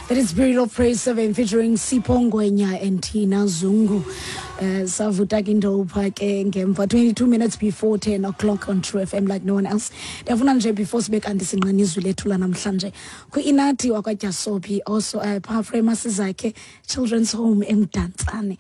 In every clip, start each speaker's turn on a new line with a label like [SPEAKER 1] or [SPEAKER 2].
[SPEAKER 1] That is Spirit of Praise 7 featuring Sipho Ngwenya and Tina Zungu. Savuta ke into pha ke ngemva 22 minutes before 10 o'clock on True FM like no one else. Ndiyafuna nje before sibe kanti sinqena izwi lethu lanamhlanje. Kwi-Inathi wakwaDyasopi also pha Frema Sizakhe Children's Home eMdantsane.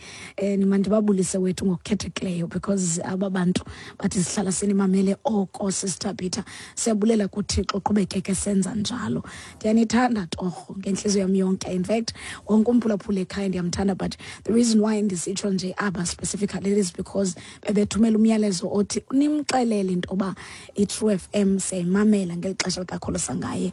[SPEAKER 1] Mandibabulise wethu ngokukhethekileyo because aba bantu bathi sihlala sinimamele oko Sister Peter. Siyabulela kuThixo qhubekeke senza njalo. Ndiyanithanda torho ngentliziyo yam yonke. In fact, wonke umphulaphula ekhaya ndiyamthanda, but the reason why ndisitsho nje aba specifically is because bebethumela umyalezo othi nimxelele into yoba i-True FM siyayimamela ngeli xesha likakholosa ngaye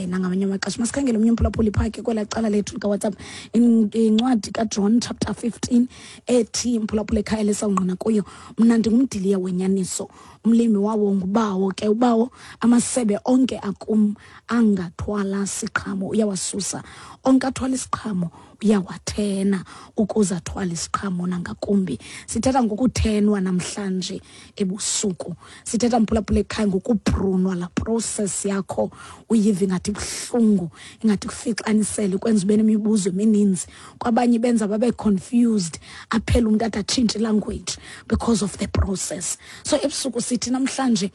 [SPEAKER 1] nangamanye amaxesha. Masikhangele omnye umphulaphuli phaa ke kwelaa cala lethu likaWhatsApp. Incwadi kaJohn chapter 15 ethi mphulaphula ekhaya lesawungqina kuyo, mna ndingumdiliya wenyaniso, umlimi wawo ngubawo ke, ubawo amasebe onke akum angathwala siqhamo uyawasusa, onke athwala isiqhamo uyawathena ukuze athwale isiqhamo nangakumbi. Sithetha ngokuthenwa namhlanje ebusuku, sithetha mphulaphula ekhaya ngokuprunwa, la process yakho uyiva ingathi ibuhlungu, ingathi kufixanisele, kwenza ube nemibuzo emininzi. Kwabanye benza babe confused, aphele umntu ade atshintshe language because of the process. So ebusuku sithi namhlanje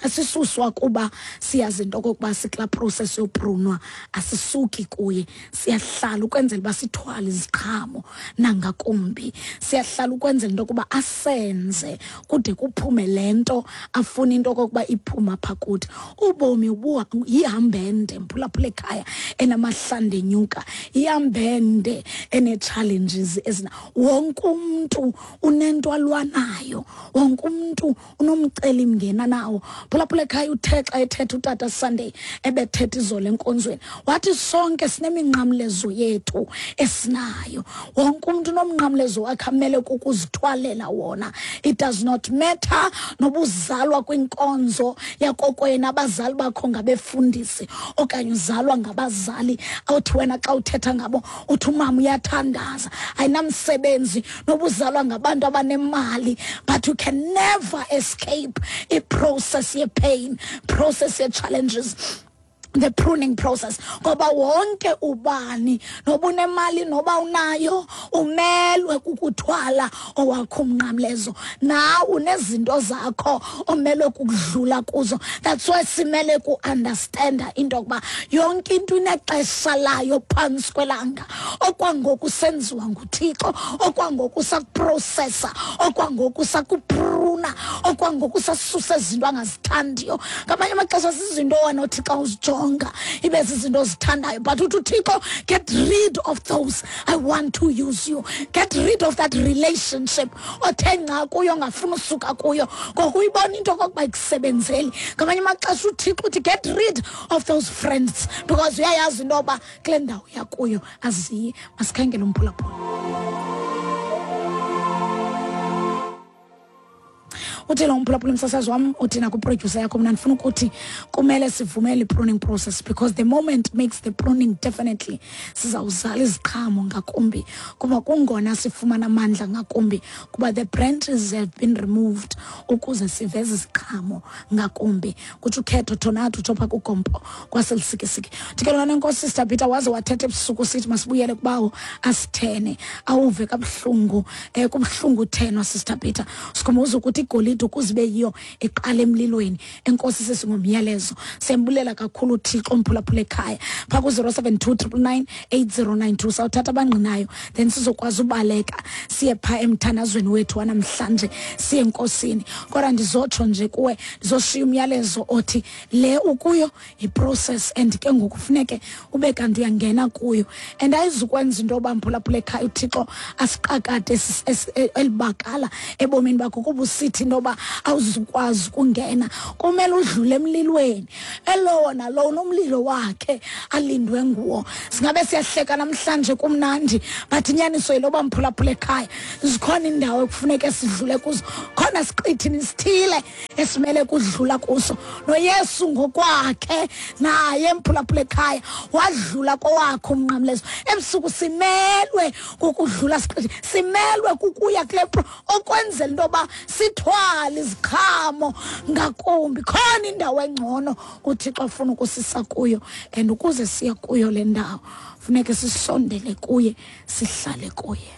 [SPEAKER 1] asisuswa kuba siyazi into okokuba sikula process yoprunwa, asisuki kuye, siyahlala ukwenzela uba sithwale iziqhamo nangakumbi, siyahlala ukwenzela into yokuba asenze kude kuphume le nto afuna into okokuba iphuma pha kuthi. Ubomi yihambende mphulaphula ekhaya enamahlanda enyuka, ihambende ene-challenges ezina. Wonke umntu unento alwanayo, wonke umntu unomcelimngeni nawo. Phulaphula ekhaya, uthe xa ethetha utata Sunday, ebethetha izolo enkonzweni, wathi sonke sineminqamlezo yethu esinayo. Wonke umntu unomnqamlezo wakhe amele kukuzithwalela wona. It does not matter noba uzalwa kwinkonzo yakokwenu, abazali bakho ngabefundisi, okanye uzalwa ngabazali awuthi wena xa uthetha ngabo uthi umama uyathandaza. Ayinamsebenzi noba uzalwa ngabantu abanemali, but you can never escape i-process ye-pain, process ye-challenges, the pruning process, ngoba wonke ubani noba unemali noba unayo umelwe kukuthwala owakho umnqamlezo. Nawe unezinto zakho omelwe kukudlula kuzo. That's why simele ku-understanda into yokuba yonke into inexesha layo phantsi kwelanga. Okwangoku senziwa nguThixo, okwangoku sakuprocessa, okwangoku sakupruna, okwangoku sasusa izinto angazithandiyo. Ngamanye amaxesha zizinto wena othi xa uzijonga ibe zizinto ozithandayo, but uthi uThixo, get rid of those, I want to use you. Get rid of that relationship othe nca kuyo ongafuni usuka kuyo ngoku uyibona into okokuba ikusebenzeli. Ngamanye amaxesha uThixo uthi get rid of those friends because uyayazi into yoba kule ndawo yakuyo aziyi. Masikhangele umphulaphula. Uthi lo mphulaphula, umsasazi wam, uthi nakwiproducer yakho, mna ndifuna ukuthi kumele sivumele i-pruning process because the moment makes the pruning, definitely sizawuzala iziqhamo ngakumbi, kuba kungona sifumana amandla ngakumbi, kuba the branches have been removed ukuze siveze iziqhamo ngakumbi. Kutsho ukhetho Tornado, utsho phaa kugompo kwaseLusikisiki. Thi ke lona, enkosi Sister Peter, waze wathetha ebusuku sithi masibuyele kubawo asithene. Awuve kabuhlungu, kubuhlungu uthenwa, Sister Peter. Sikhumbuza ukuthi igolide ukuze ibe yiyo iqala emlilweni. Enkosi sisi ngomyalezo, siyambulela kakhulu uThixo. Umphulaphula ekhaya phaa ku-072 999 8092, sawuthatha abangqinayo, then sizokwazi ubaleka siye phaa emthandazweni wethu wanamhlanje, siye enkosini. Kodwa ndizotsho nje kuwe, ndizoshiya umyalezo othi le ukuyo yi-process, and ke ngoku funeke ube kanti uyangena kuyo, and ayizukwenza into yoba mphulaphula ekhaya uThixo asiqakade elibakala ebomini bakho kuba usithi into yoba awuzukwazi ukungena. Kumele udlule emlilweni. Elowo nalowo unomlilo wakhe alindwe nguwo. Singabe siyahleka namhlanje kumnandi, but inyaniso yiloba mphulaphula ekhaya zikhona indawo ekufuneke sidlule kuzo, khona siqithini sithile esimele kudlula kuso. NoYesu ngokwakhe naye mphulaphula ekhaya wadlula kowakhe umnqamlezo. Ebusuku simelwe kukudlula siqithi, simelwe kukuya kule okwenzela into yoba sithwale. Sibonakala iziqhamo ngakumbi. Khona indawo engcono uThixo afuna ukusisa kuyo, and ukuze siye kuyo le ndawo funeke sisondele kuye, sihlale kuye.